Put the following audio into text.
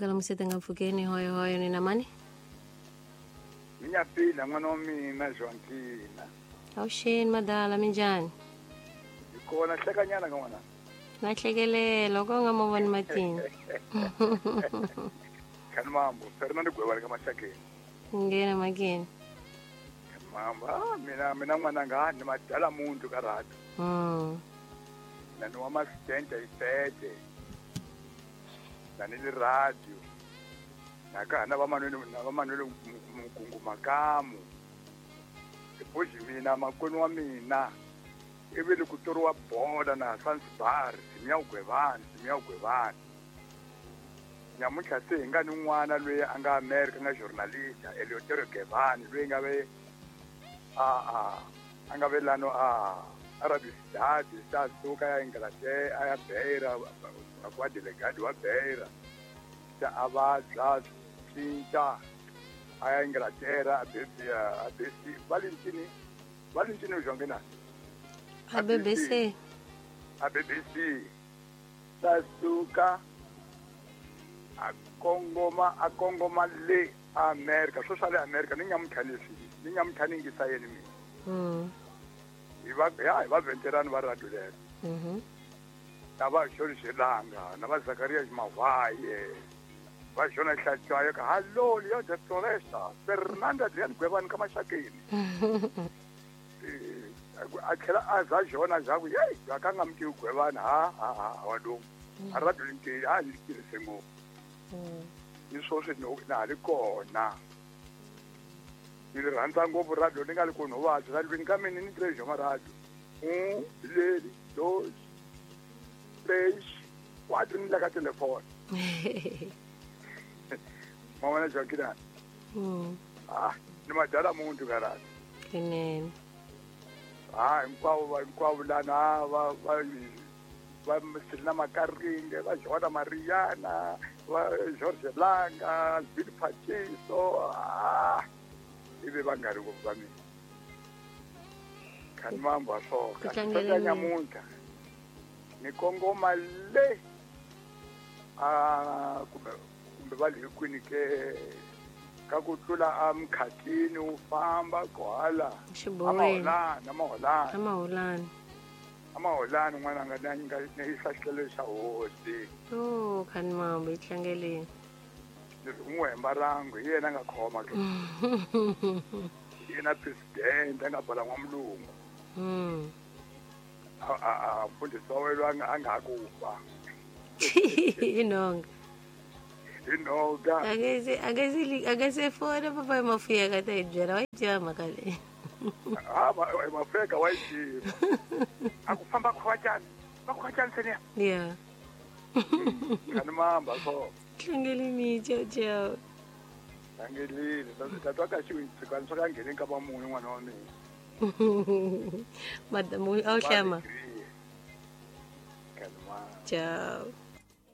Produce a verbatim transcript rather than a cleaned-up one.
Amukela musete nga mpfukeni hoyo hoyo ni na mani? Ngiyaphila n'wana wa mina Joankina. Awuxeni madala minjhani? Hi kona hlekanyana ka n'wana. Na hlekelela ko nga mo voni matini. Khani mambo, Fernando Gwewani ka Maxakeni. Nghena makeni. Khani mambo, ah mina mina n'wananga ni madala muntu ka radio. Mm. Na ni wa masitente ifete. Na ni le radio. Na ka na va Manuel na va Manuel Mukungu Makamu. Epoji mina makwenu wa mina. Ivi le ku toriwa bola na Zanzibar, Simia Gwevani, Simia Gwevani. Nyamuntlha se hi nga ni n'wana loyi a nga America nga journalist Eleuterio Gwevani loyi nga ve a a a nga ve lano a Arabistan sa suka ya Inglaterra a ya Beira a kwa delegado wa Beira sa a vabya cinca a ya Inglaterra a B a B C Valentini Valentini Jongena A B B C A B B C sa suka a kongoma a kongoma le America swo swa le America ni nyamuntlha leswi ni nyamuntlha ni yingisa yeni mina. Mm. Hi va ya hi va veterani va radio lero. Mhm. Na va George Langa na va Zakaria Mavaye va Jona Hlatshwayo ka hallo Leon de Floresta Fernando Adrian Gwevani ka Maxakeni. A tlhela a za Jona za ku yeyi a ka nga mi tivi Gwevani ha ha ha wa lomu a radio ni a ni tirhise ngopfu. Ni swoswi na ha ri kona ni ri rhandza ngopfu radio ni nga li kona vuvabyi radiweni ka mina ni tirhe xoma radio un leri dos tres quatro ni la ka telefoni ma vona Joaquina. Ah ni madala muntu ka radio Kunene. Ah hinkwavo va hinkwavo lana va va va Selina Makaringe va Joana Mariana va George Langa Bill Pachiso ah ivi va nga ri ngopfu va mina. Khani mambo a Ku swoka tlangela nyamuntlha ni kongoma le a kumbe kumbe va le kwini ke ka ku tlula a Mkhathini wu famba kwala Xiboweni. Amaholani Amaholani Amaholani. Amaholani n'wana nga na nga ni yisa xitlelo xa hosi. Oh khani mambo yi tlangeleni. Ni ri n'wi hemba rangu hi yena a nga khoma ke. Hi yena president a nga bala n'wamulungu. Mm. A a a mfundhisi wa wena a nga a nga ha ku fa. Hi nhonga. Hi nhonga. A nge se a nge se a nge se fona papa Mafuyeka ta hi byela wa yi tiva mhaka leyi. Ah Mafuyeka wa yi tiva. A ku famba khwatshana va khwatshana seniya. Yeah. Khani mamba so. Tlangeleni ciao ciao. Tlangelile tatwa ka xiwitsi swa ka ngheneni ka vamunhu n'wana wa mina. Madamu a wu hlama. Khani mamba. Ciao.